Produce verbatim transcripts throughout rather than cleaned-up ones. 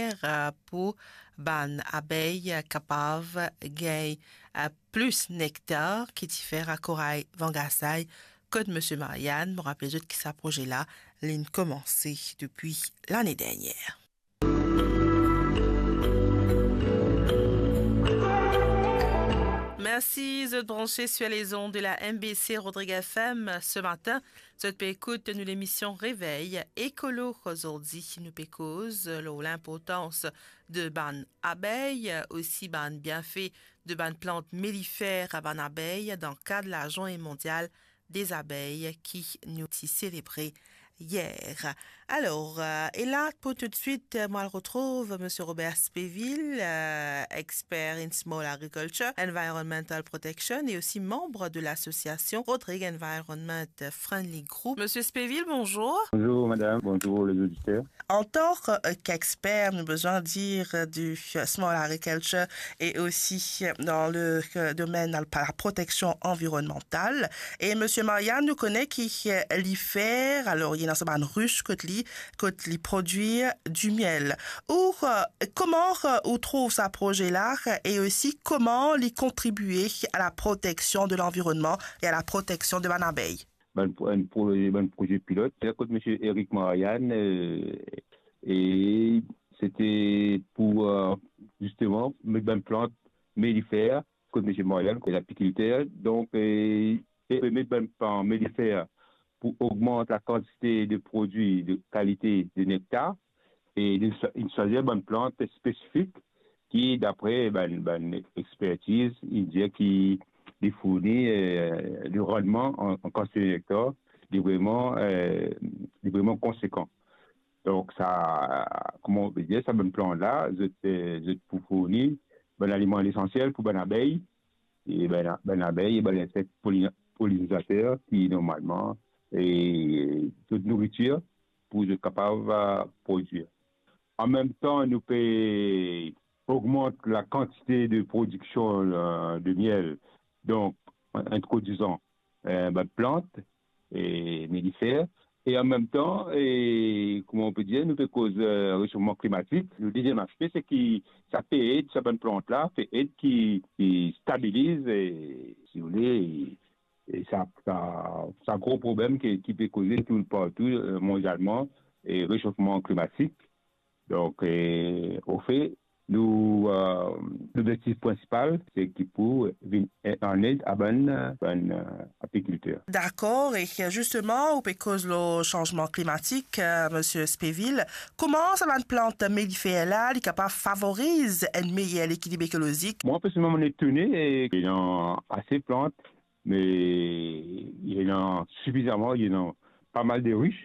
eh, pou bann abey kapav gagn, eh, plis nektar ki ti fer a Koray Vangasay kot Misie Marianne. Mo rapel zot ki sa proze la, linn koumanse depi lane dernier. Mersi, zot branche sur les ondes de la M B C Rodrigues F M ce matin. Zot pe ekout nou lemision Revey Ekolo. Zordi nou pe koz lor linportans de bann abey, osi bann bienfe de bann plant melifer a bann abey dan kad Lazourne Mondial des Abeilles ki nou ti selebre yer. Alor, eh, e la, pou toutswit, eh, mo al retrouv Misie Robert Spéville, eh, expert in small agriculture, environmental protection e osi manb de lasosiasion Rodrigues Environment Friendly Group. Misie Spéville, bonzour. Bonzour, madam. Bonzour, les auditeurs. Antan, eh, k'exper, nou bizin dir, eh, di, eh, small agriculture e osi, eh, dan le, eh, domenn, eh, la proteksion anvironmantal. E Misie Marianne, nou kone ki, eh, li fer, alor, li ena sa bann rich kot li, kot li prodwir dimiel. Ou, eh, kouma, eh, ou trouv sa proze la, eh, e osi kouma li kontribie a la proteksion de lanvironnman e a la proteksion de bann abey? Bann pro-, bann pro-, bann proze pilot, se kot Misie Eric Marianne, eh, e sete pou, eh, zisteman, met bann plant melifer kot Misie Marianne, ki lapikilter. Donk, eh, e met bann plant melifer pou ogmant lakantite de prodwi de kalite de nektar, e li, li swazir bann plant spesifik ki, dapre bann, bann expertiz, li dir ki li fourni, eh, le randman an, an kantite nektar, li vreman, eh, li vreman konsekan. Donk sa, kouma nou pe dir, sa bann plant la, zot, eh, zot pou fourni bann aliman lesansiel pou bann abey, e bann, bann abey e bann insek polina-, polinizater ki normalman, eh, zot nouritir pou zot kapav, eh, prodwir. An mem tan, nou pe ogmant lakantite de prodiksion, eh, de miel, donk, an introdizan, eh, bann plant, eh, melifer, e an mem tan, eh, kouma nou pe dir, nou pe koz, eh, resofman klimatik. Le deziem aspe, se ki sa pe ed, sa bann plant la, pe ed ki, ki stabiliz, eh, si ou le, e sa, sa, sa gro problem ki, ki pe koze tou partou, eh, mondialman, e resofman klimatik. Donk, eh, anfet, nou, eh, lobzektif prinsipal, se ki pou vinn, eh, an ed a bann, eh, bann, eh, apikilter. Dakor, e zisteman, ou pe koz lor sanzman klimatik, eh, Misie Spéville. Kouma sa bann plant melifer la, li kapav favoriz enn meyer lekilib ekolozik? Mwa, personelman, mo etone, e, ena ase plant, me ena sifizaman, ena pa mal de rich.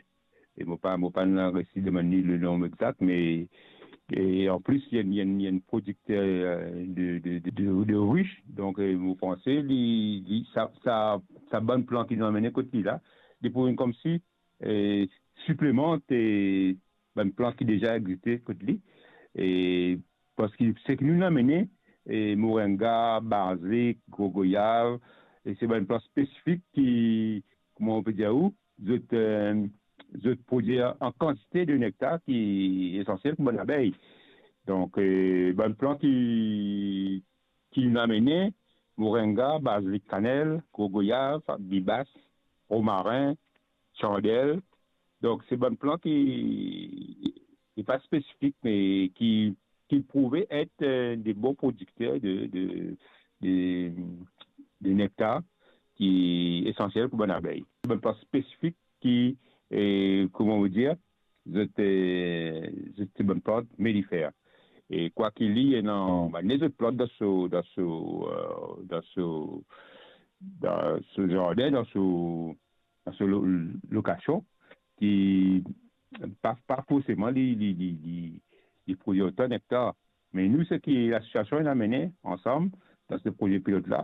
E mo pa, mo pa resi demann li le nom exact, me, e an plis, li enn, li enn, li enn prodikter, eh, de, de, de, de, de rich. Donk, eh, mo panse, li, li, sa, sa, sa bann plant ki li amenn kot li la, li pou vinn koumsi, eh, siplemant, eh, bann plant ki deza existe kot li. E parski seki nou amenn, e moringa, bazik, gro goyav, e se bann plant spesifik ki, kouma nou pe dir ou, zot, eh, zot prodwir an kantite de nektar ki esansiel pou bann abey. Donk, eh, bann plant ki, ki nou amenn, moringa, bazik, kanel, gro goyav, bibas, romarin, sandel. Donk, se bann plant ki, ki pa spesifik, me ki, ki prouve et, eh, de bon prodikter de, de, de, de nektar ki esansiel pou bann abey. Bann plant spesifik ki, eh, kouma nou dir, zot, eh, zot se bann plant melifer. E kwaki li ena bann lezot plant dan so, dan so, eh, dan so, dan so zardin, dan so, dan so lo-, lokasion, ki pa, pa forseman li, li, li, li, li prodwir otan nektar. Me nou, seki lasosiasion inn amenn ansam dan se proze pilot la,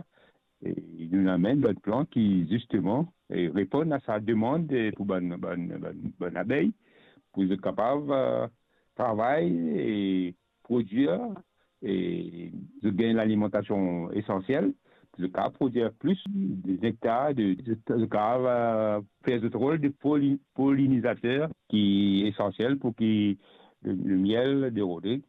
e nou amenn bann plant ki, zisteman, e reponn a sa demann, e, pou bann, bann, bann, bann abey, pou zot kapav, eh, travay e prodwir, e zot gagn lalimantasion esansiel, zot kapav prodwir plis de nektar, de, zot, zot kapav, eh, fer zot rol de poli-, polinizater ki esansiel pou ki le, le miel de Rodrigue.